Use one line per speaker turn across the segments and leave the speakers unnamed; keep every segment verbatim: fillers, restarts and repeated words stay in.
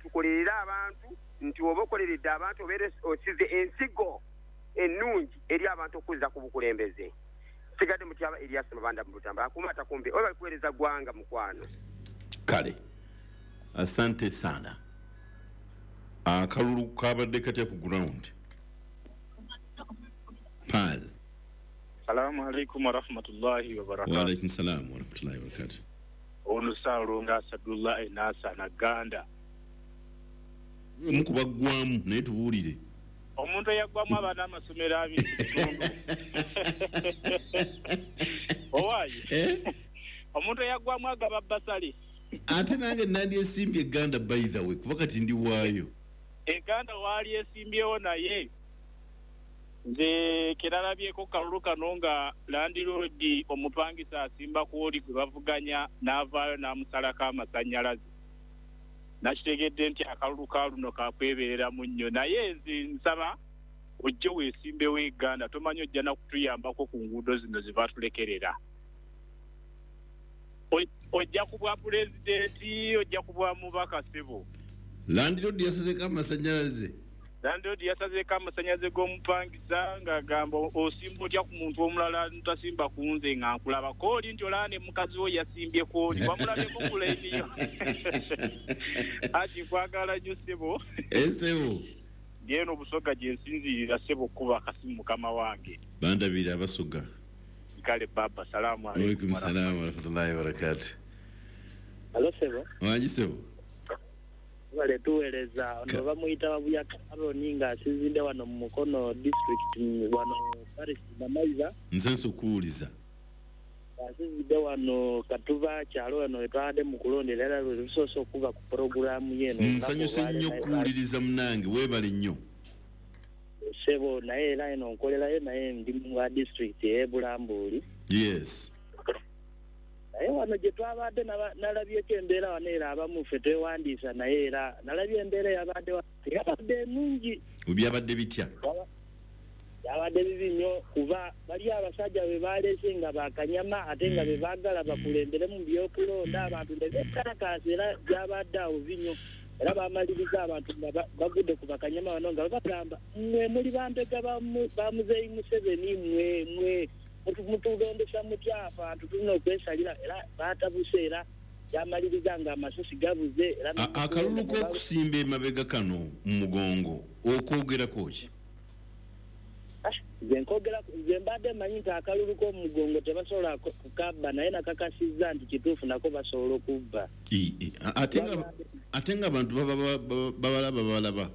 Tukolerere abantu nti oba okoleredde abantu obeere osize ensigo ennungi eri abantu okuzza ku bukulembeze. Sigadde Mutyaba Erias Mabanda mu Butambala, akuuma atakumbe oba kuweereza ggwanga mukwano.
Kale, asante sana. Akalulu kabadde katya ku ground? Pal.
Salamu alaikum wa rahmatullahi wa barakatuh.
Wa alaikum salam wa rahmatullahi wa barakatuh.
Ono Saalongo Asadullah Enasa Naganda.
Omu baggwamu naye tubuulire.
Omuntu eyaggwamu abaana amasomero abiri mu kitundu. Owaaye.
Eh?
Omuntu eyaggwamu agaba bbasale.
Ate nange nandyesimbye Gganda by the way, kuba kati ndi waayo.
Eganda waali esimbyewo naye nze keralabyeko kalulu kano nga landiroodi omupangisa asimba kwoli gwe bavuganya n'avaayo n'amusalako amasannyalaze. Nakitegedde nti akalulu ka luno kakwebereramu nnyo, naye nze nsaba ojje weesimbewo Eganda, tomanyi ojja na kutuyambako ku nguudo zino ze batulekerera. Ojja ku bwa pulezidenti, ojja ku bwa mubaka ssebo.
Landiroodi yasazeeko amasannyalaze.
Landiroodi yasazeeko amasannyalaze g'omupangisa ng'agamba osimba otya ku muntu omulala ntasimba ku nze nga nkulaba kooli nti olaba ne mukazi wo yasimbye kooli wamulabyeko ku layini yo. Ati nkwagala nnyo ssebo.
Ssebo.
Ndi eno Busoga gye nsinziirira ssebo okuba akasimu mukama wange.
Bandabira Abasoga.
Kale baba, salaamu
alaikum. Waalaikum salaam wa rahmatullahi wa barakatuh.
Alo ssebo.
Wangi ssebo.
Wale tuweereza ono bamuyita Babuyaka Aroni ng'asinzidde wano mu Mukono district wano parish Namaiza.
Nsenso okuwuliza.
Asinzidde wano Katuba kyalo wano wetwabadde mu kulondera era lwe lusoose okuva ku pulogulaamu y'eno.
Nsanyuse nnyo okuwuliriza munnange, weebale nnyo.
Ssebo naye era eno nkolerayo naye ndi mu district ey'e Bulambuuli.
Yes.
Naye wano gye twabadde nalabyeko embeera wano era abamu ffe twewandiisa naye era nalabye embeera eyabadde yabadde ennungi.
Byabadde bitya?
Byabadde bibi nnyo kuba bali abasajja be baleese nga bakanyama ate nga be baagala bakulembere mu by'okulonda abantu ne beekalakaasa era byabadde awo bibi nnyo. Era bamaliriza abantu nga bagudde ku bakanyama bano nga babagamba mmwe muli bambega ba Muzeeyi Museveni mmwe mmwe mutulondesa mutya abantu tulina okwesalira era batabuse era yamaliriza nga amasasi gabuze.
Akalulu k'okusimba emabega kano mu mugongo okwogerako ki?
Nze nkwogera nze mbadde mmanyi nti akalulu k'omugongo tebasobola kukabba naye nakakasizza nti kituufu nako basobola okubba.
Ate nga abantu babalaba babalaba.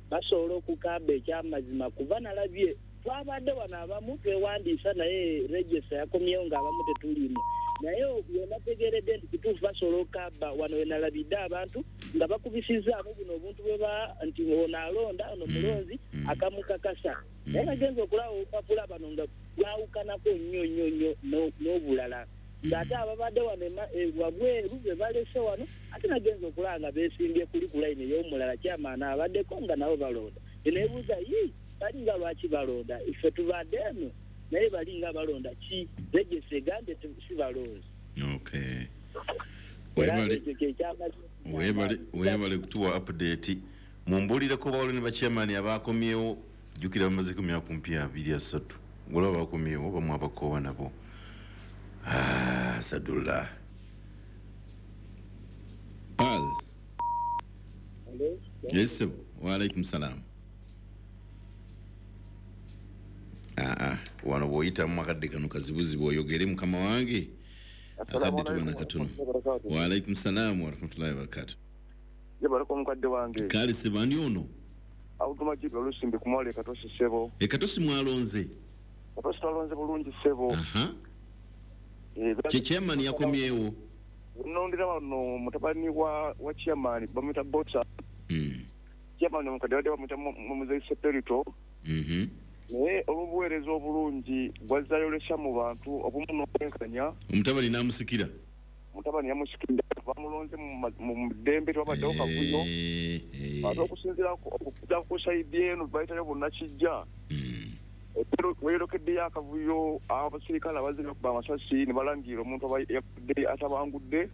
Basobola okukabba ekyamazima kuba nalabye twabadde wano abamu twewandiisa naye regista yakomyewo ng'abamu tetulimu naye wenategeredde nti kituufu basobola okukabba wano wenalabidde abantu nga bakubisizzaamu buno obuntu bwe ba nti ono alonda ono mulonzi akamukakasa naye nagenza okulaba obupapula bano nga bwawukanako nnyo nnyo nnyo n'obulala ng'ate ababadde wano wabweru be balese wano ate nagenza okulaba nga beesimbye kuli ku layini ey'omulala kyamaana abaddeko nga nabo balonda neneebuuza yi balinga lwaki balonda ife tubadde eno naye balinga balonda ki regista egambye si balonzi.
Okay. Webale webale webale kutuwa update mumbulireko bawole ne bachairman abakomyewo jjukira bamazeko myaka kumpi abiri asatu ngolaba bakomyewo bamu abakoowa nabo. Ah, Sadullah. Pal. Yes, wa alaikum salam. Ah ah, wano bw'oyitamu akadde kano kazibuzibu oyogere mukama wange. Akadde tubana katono. Wa alaikum salam wa rahmatullahi wa barakatuh.
Jebaleko mukadde wange.
Kale sebani ono.
Awutumajidi olusimbi kumwale Katosi ssebo.
E Katosi mwalonze.
Katosi twalonze bulungi ssebo.
Aha. Che chairman yakomyewo.
Nondira wano mutabani wa wa chairman bamuyita Botsa.
Mm.
Chairman omukadde wadde bamuyita Muzeeyi Seperito.
Mhm.
Naye olw'obuweereza obulungi bwazzayolesa mu bantu obumu n'obwenkanya.
Omutabani n'amusikira.
Mutabani yamusikira bamulonze mu ddembe twabaddewo kavuyo. Ate okusinziira okuja ku sayidi eno bayitayo bonnakijja. Weerokeddeyo akavuyo abasirikale abazze bakuba amasasi ne balangira omuntu aba yabadde atabangudde.